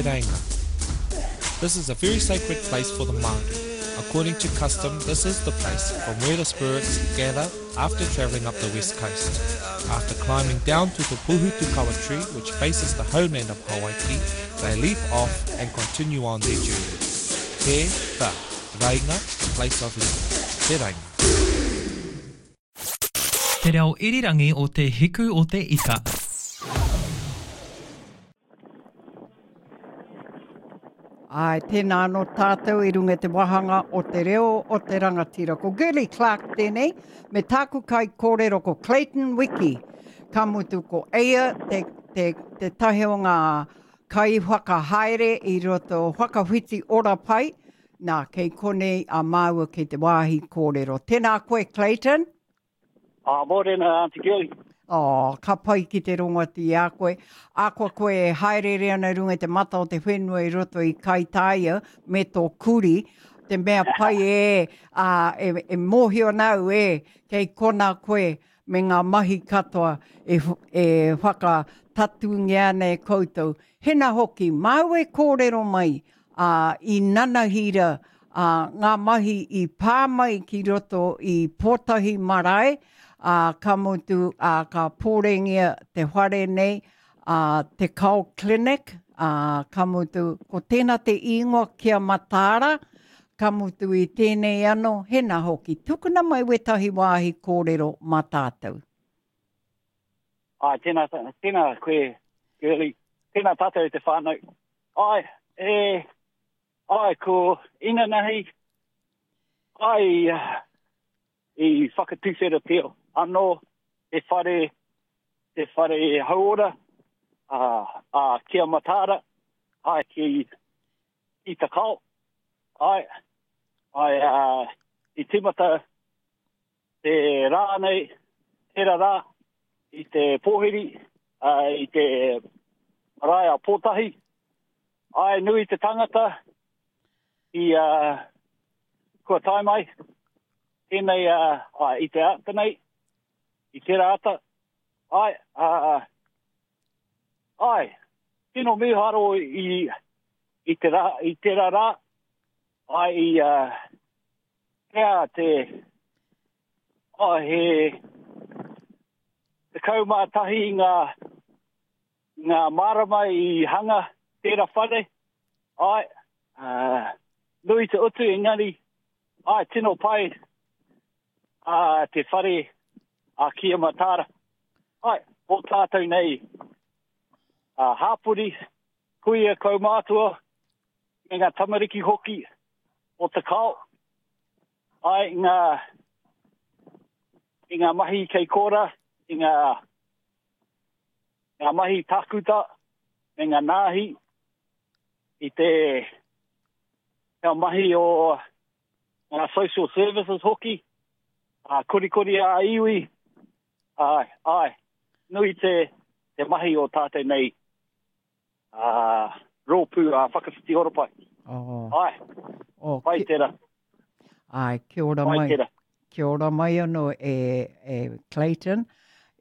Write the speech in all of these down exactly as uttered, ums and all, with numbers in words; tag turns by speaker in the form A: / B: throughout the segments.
A: Te Reinga. This is a very sacred place for the Māori. According to custom, this is the place from where the spirits gather after travelling up the west coast. After climbing down to the Pohutukawa tree, which faces the homeland of Hawaiki, they leap off and continue on their journey. Te Wha, Reinga, place of leap. Te Reinga.
B: Te reo irirangi o Te Hiku o Te Ika.
C: Ai, tēnā anō tātou i runga i te wāhanga o te reo o te rangatira. Ko Girlie Clark tēnei, me tāku kai kōrero ko Clayton Wiki. Ka mutu ko Eia te, te, te tahe o ngā kai whakahaere i roto whakawhiti ora pai. Nā, kei konei a māua kei te wāhi kōrero. Tēnā koe, Clayton.
D: Ah, mōrena, Auntie Girlie.
C: Oh, ka pai ki te rongo atu i a koe. Akoa koe e haerere ana runga i te mata o te whenua i roto i Kaitaia me tō kuri, te mea pai e, a, e, e mōhio nau e, kei kona koe me ngā mahi katoa e, e whakatatungia ana e koutou. Hena hoki, māu e kōrero mai a, i nanahira a, ngā mahi i pā mai ki roto i Pōtahi Marae, a, ka mutu, a, ka pōrengia te whare nei, a, te Kao Clinic, a, ka mutu, ko tēnā te ingoa kia mataara, ka mutu i tēnei anō, hena hoki. Tukuna mai wetahi wāhi kōrero mā tātou.
D: Ai, tēnā, tēnā koe, Girlie. Tēnā tātou te whānau. Ai, e, ai, ko inanahi, ai, i whakatuwhera te anō, te whare, te whare hauora, a, a kia mataara, ai, ki, ki Takao. Ai, ai, a, i tīmata te rā nei, tērā rā, i te pōhiri, a, i te marae a Pōtahi. Ai, nui te tangata i uh, kua tae mai, tēnei uh, ai, i te ata nei, i tērā ata. Ai, uh, ai, tino mīharo i, i, te rā, i tērā rā, ai, i uh, hea te, ai, he tekau mā tahi ngā, ngā marama i hanga tērā whare. Ai, uh, nui te utu engari, ai, tino pai uh, te whare a Kia Mataara. Ai, o tātou nei uh, hāpori, kuia kaumātua, me ngā tamariki hoki o te kao. Ai, ngā, i ngā mahi kei kōra, i ngā, ngā mahi takuta, me ngā nāhi, i te ngā mahi o ngā social services hoki, a korikori a iwi, ai, ai, nui te, te mahi o tātou nei a, rōpū a whakawhiti horopai.
C: Oh.
D: Ai,
C: oh,
D: pai
C: ki,
D: tērā.
C: Ai, kia ora
D: Pai
C: mai.
D: tērā.
C: Kia ora mai anō e, e Clayton.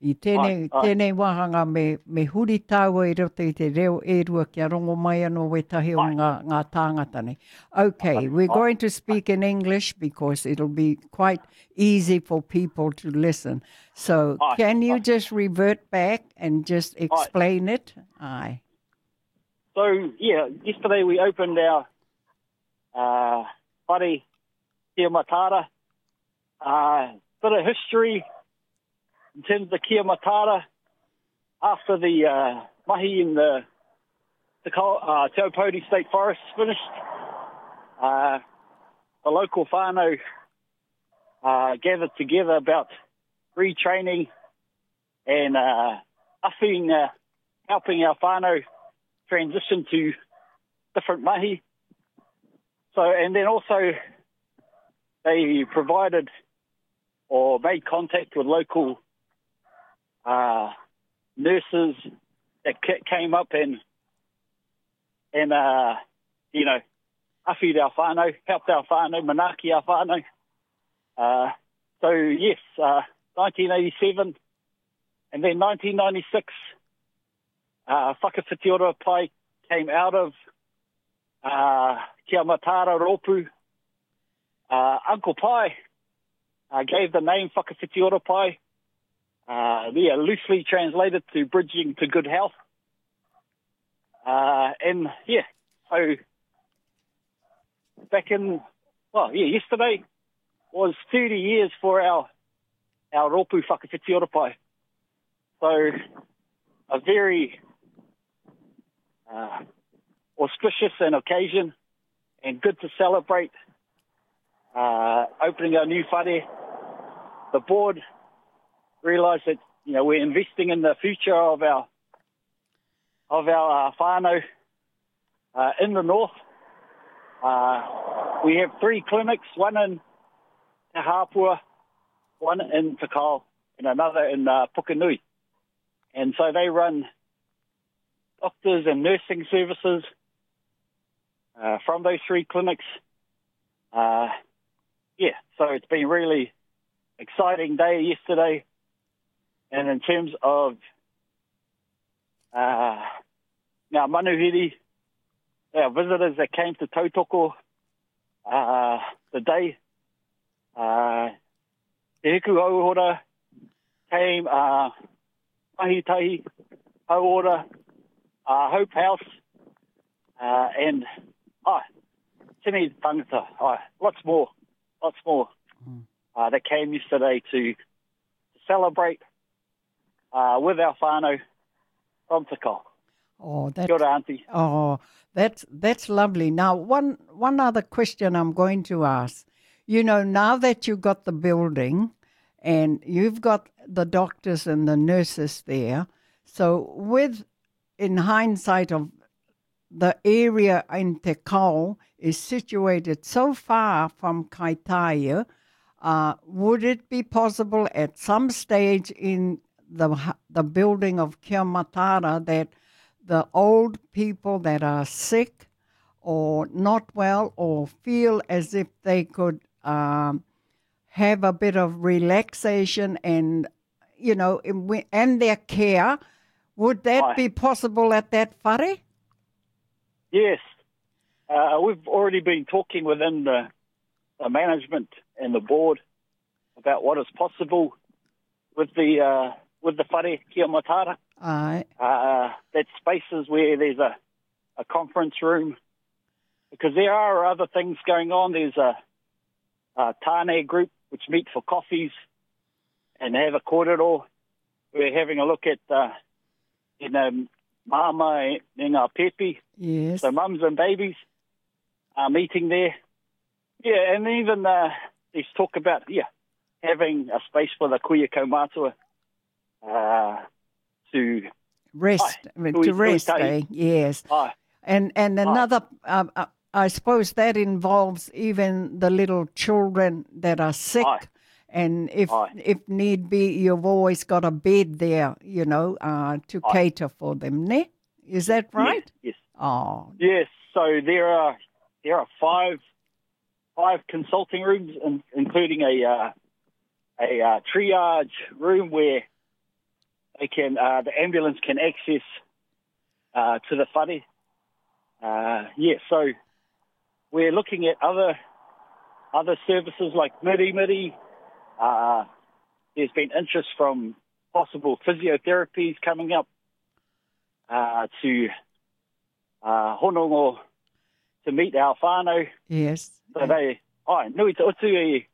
C: I tēnei,
D: Ai, ai.
C: tēnei wāhanga me, me huri tāua i roto i te reo e rua kia rongo mai anō wetahi o
D: Ai.
C: ngā, ngā tāngata nei. Okay,
D: Ai,
C: we're
D: ai.
C: going to speak in English because it'll be quite easy for people to listen. So
D: Ai,
C: can you
D: ai.
C: just revert back and just explain it? Aye.
D: So, yeah, yesterday we opened our uh, whare Kia Mataara. Uh, bit of history in terms of Kia Mataara. After the uh, mahi in the, the uh, Te Aupōuri State Forest finished, uh, the local whānau uh, gathered together about retraining and uh, uffing, uh, helping our whānau transition to different mahi. So, and then also they provided or made contact with local uh, nurses that came up and, and uh, you know, awhi'd our whānau, helped our whānau, manaaki our whānau. Uh, so, yes, uh, nineteen eighty-seven and then nineteen ninety-six, uh, Whakawhiti Ora Pai came out of uh, Kia Mataara Rōpū. Uh, Uncle Pai uh, gave the name Whakawhiti Ora Pai. Uh, yeah, loosely translated to bridging to good health. Uh, and yeah, so back in, well, yeah, yesterday was thirty years for our, our Rōpū Whakawhiti Ora Pai. So a very uh, auspicious an occasion and good to celebrate uh, opening our new whare. The board realised that, you know, we're investing in the future of our of our uh, whānau uh, in the north. Uh, we have three clinics, one in Te Hāpua, one in Te Kao, and another in uh, Pukenui. And so they run doctors and nursing services uh, from those three clinics. Uh, yeah, so it's been really exciting day yesterday. And in terms of uh, now manuhiri, our visitors that came to Tautoko uh, the day, uh, Te Hiku Hauora came, uh, Mahi Tahi Hauora, uh, Hope House, uh, and oh, tini tangata, oh, lots more, lots more mm. uh, that came yesterday to celebrate uh, with our whānau from Te Kao.
C: Oh, that's,
D: Kia ora, Auntie.
C: Oh, that's, that's lovely. Now, one, one other question I'm going to ask. You know, now that you've got the building and you've got the doctors and the nurses there, so with, in hindsight of the area in Te Kao is situated so far from Kaitaia, uh, would it be possible at some stage in the the building of Kia Mataara that the old people that are sick or not well or feel as if they could um, have a bit of relaxation and, you know, and their care, would that
D: Aye.
C: be possible at that whare?
D: Yes. Uh, we've already been talking within the, the management and the board about what is possible with the uh, with the whare Kia Mataara.
C: Aye.
D: Uh, that spaces where there's a, a conference room, because there are other things going on. There's a, a tāne group which meet for coffees and have a kōrero. We're having a look at, uh, you know, mama and ngā pepi.
C: Yes.
D: So mums and babies are meeting there. Yeah, and even uh, there's talk about, yeah, having a space for the kuia kaumātua uh, to
C: rest,
D: aye,
C: to rest, eh? Yes.
D: Aye.
C: And, and another, uh, uh, I suppose that involves even the little children that are sick.
D: Aye.
C: And if
D: Aye.
C: if need be, you've always got a bed there, you know, uh, to
D: Aye.
C: cater for them, ne? Is that right?
D: Yes. Yes.
C: Oh.
D: Yes. So there are there are five five consulting rooms, in, including a uh, a uh, triage room where they can uh, the ambulance can access uh, to the whare. Uh, yeah. So we're looking at other other services like miri miri. Uh, there's been interest from possible physiotherapies coming up uh, to uh, honongo to meet our whānau.
C: Yes.
D: So they, ai, nui te utu i,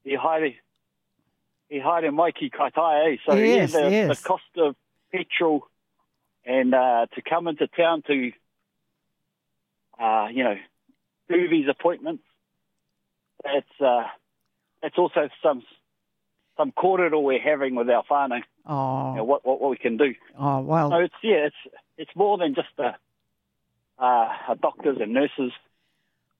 D: i haere, i haere mai ki Kaitaia, eh? So
C: yes,
D: yeah, the,
C: yes.
D: the cost of petrol and uh, to come into town to, uh, you know, do these appointments, that's, uh, that's also some some kōrero we're having with our whānau.
C: Oh.
D: You know, what, what, what we can do.
C: Oh, well.
D: So it's, yeah, it's, it's more than just a, uh, a doctors and nurses,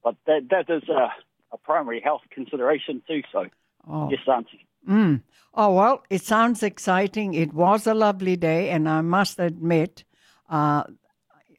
D: but that, that is a, a primary health consideration too. So,
C: oh.
D: Yes, Auntie.
C: Mm. Oh, well, it sounds exciting. It was a lovely day, and I must admit, uh,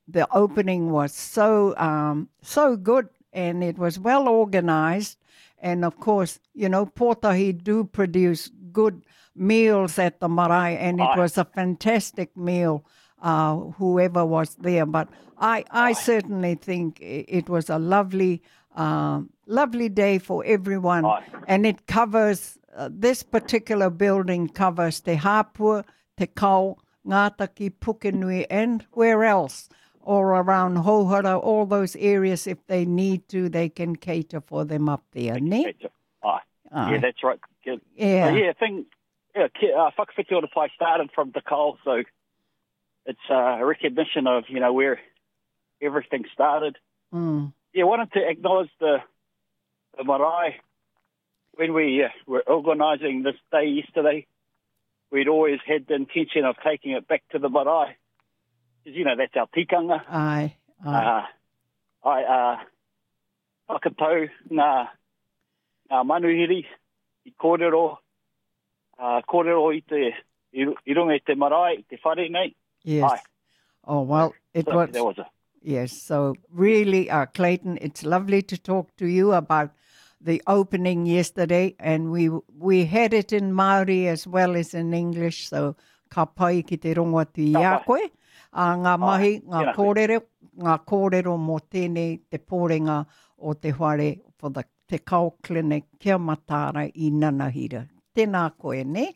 C: the opening was so, um, so good, and it was well organized. And, of course, you know, Pōtahi do produce good meals at the marae, and it
D: Aye.
C: was a fantastic meal uh, whoever was there. But I, I certainly think it was a lovely, uh, lovely day for everyone.
D: Aye.
C: And it covers, uh, this particular building covers Te Hapua, Te Kao, Ngātaki, Pukenui, and where else? All around Houhora, all those areas, if they need to, they can cater for them up there, ne?
D: Aye.
C: Aye.
D: Yeah, that's right. Good.
C: Yeah.
D: Uh, yeah, thing, yeah, uh, Whakawhiti o te Pai started from Te Kao, so it's uh, a recognition of, you know, where everything started.
C: Mm.
D: Yeah, wanted to acknowledge the, the marae. When we uh, were organising this day yesterday, we'd always had the intention of taking it back to the marae. Because, you know, that's our tikanga.
C: Aye, aye.
D: Uh, I, uh, whakatau ngā, ngā manuhiri i kōrero, uh, kōrero i te, i, i runga i te marae, i te whare nei.
C: Yes.
D: Aye.
C: Oh, well, it
D: So
C: was...
D: that was a,
C: Yes, so really, uh, Clayton, it's lovely to talk to you about the opening yesterday, and we we had it in Māori as well as in English, so ka pai ki te rongo atu i a
D: Ka pai.
C: koe. Uh, ngā mahi, ngā
D: tēnā koe.
C: kōrero, ngā kōrero mō tēnei te pōrenga o te whare for the Te Kao Clinic kia mataara i Nanahira. Tēnā koe, ne?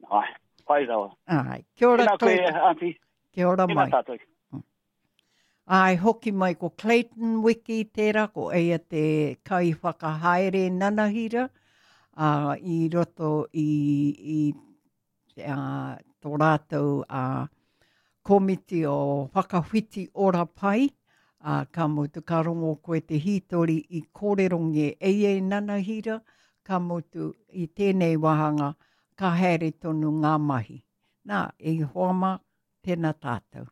D: Ai, pai rawa.
C: Ai, kia ora,
D: Tēnā koe,
C: Clayton.
D: Auntie.
C: Kia ora
D: Tēnā
C: mai.
D: tātou.
C: Ai, hoki mai ko Clayton Wiki tērā, ko eia te kai whakahaere nanahira uh, i roto i, i uh, tō rātou uh, komiti o Whakawhiti Ora Pai. Uh, ka mutu ka rongo koe te hītori i kōreronge eia i nanahira, ka mutu i tēnei wāhanga ka haere tonu ngā mahi. Nā, e hoa mā, tēnā tātou.